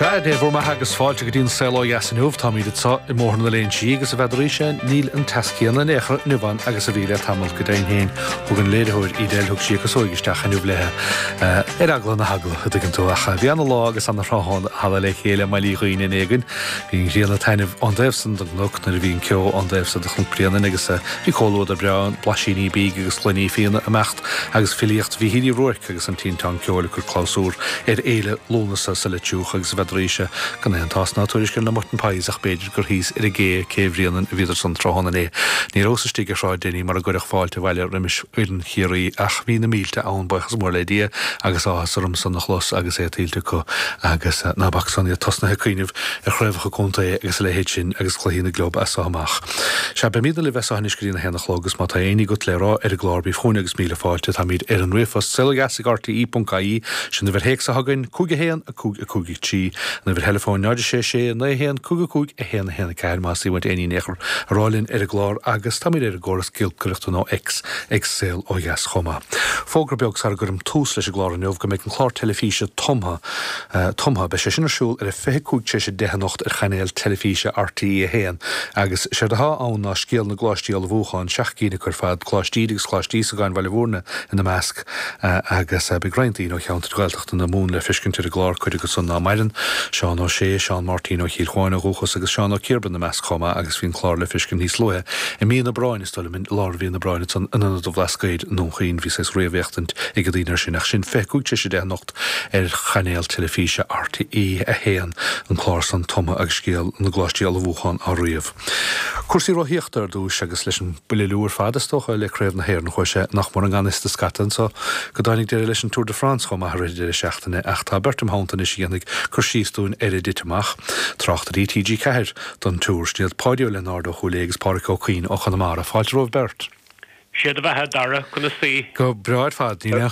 Sea, Dé bhur mbeatha agus fáilte go dtí an Saol Ó Dheas inniu. Táimid anseo i mBóthar na Léinsí agus a bhfeadaraíse níl an teas céanna in aon chor inniu ann agus a bhí le tamall. Go deimhin féin, thug an léiritheoir Edel, thug sí a casóig isteach inniu léithe ar eagla na heagla, a dtuigeann tú. Ach bhí ana lá agus ana thráthnóna le chéile i mBaile Uí Dhuinn inné againn. Bhí an ghrian ag taitneamh ón dtaobh san den gcnoc nuair a bhí an ceo ón dtaobh so de Chnoc Bréanainn agus bhí comhluadar breá ann, blaisíní bídh agus gloiní fíona ag imeacht agus filíocht Mhíchíl Uí Ruairc agus an Tinteán Ceoil ag cur clabhsúr ar fhéile Lúnasa sa Leitriúch agus a bhfeadaraíse gan aon tásc ná tuairisc ar na mutton pies ach b'fhéidir gur thíos ar an gcé, Cé Bhréanainn a bhíodar san tráthnóna inné. Ní rabhas istigh ar Shráid Denny mar a gcuireadh fáilte abhaile roimis fhoireann Chiarraí ach bhí na mílte ann, buíochas mór le Dia agus áthas orm san a chlos agus é tuillte acu agus ná bac san iad tosnaithe ag cuimhneamh ar chraobhacha contae agus a leithéid sin agus cluichí na gclub as so amach. Sea, beimidne libh as so anois go dtí an 1 a chlog agus má tá aon ní agat le rá ar an gclár bí chugainn agus míle fáilte. Táimid ar an ríomhphost saolodheas ag rte.ie, sin uimhir théacs atá againn, 5 1 5 5 3, an uimhir theileafóin 0 6 6 9 1 5 5 1 1 4 más uait aon ní in aon chor a rá linn ar an gclár agus táimid ar an gcóras giolcaireachta nó X ag Saol Ó Dheas chomh maith. Fógra beag sara gcuirim tús leis an gclár inniu go mbeidh an clár teilifíse Tumtha Tumtha. Beidh sé sin ar siúl ar a 25 tar éis 10 anocht ar chainéal teilifíse RTÉ 1 agus séard atá ann ná scéal na gcoláistí ullmhúcháin, 7 gcinn acu ar fad, Coláiste Íde agus Coláiste Íosagáin Bhaile Bhúirne ina measc, agus beidh roinnt daoine ó cheantair Ghaeltachta na Mumhan le feiscint ar an gclár, cuid acu san ná maireann, Seán Ó Sé, Seán Máirtín Ó Chill Chuáin ó dhúchas agus Seán Ó Ciarba ina measc chomh maith agus bhí an clár le feiscint níos luaithe i mí an Aibreáin, is dóigh liom, i lár mhí an Aibreáin ansan in Ionad an Bhlascaoid i nDún Chaoin. Bhí saghas réamhfhéachtaint ag na daoine air sin ach sin 25 tar éis 10 anocht. ar chainéal teilifíse RTÉ 1, an clár san Tumtha agus scéal na gcoláistí ullmhúcháin á ríomh. Cúrsaí rothaíochta ar dtúis agus leis an buille liú ar fad is dócha le Craobh na hÉireann chuaigh sé nach mór i ngan fhios do scata anso go dtáinig deireadh leis an Tour de France chomh maith i rith an deireadh seachtaine ach tá beirt im theannta anois a dhéanfaidh cur síos dúinn ar a dtit amach. Tráchtairí TG4 don Tour, sin iad Páidí Ó Lionáird ó Chúil Aodha agus Pádhraic Ó Cuinn ó Chonamara. Fáilte romhaibh beirt. Sé do bheatha, a Dara, conas taoi? Go breá ar fad, níl aon.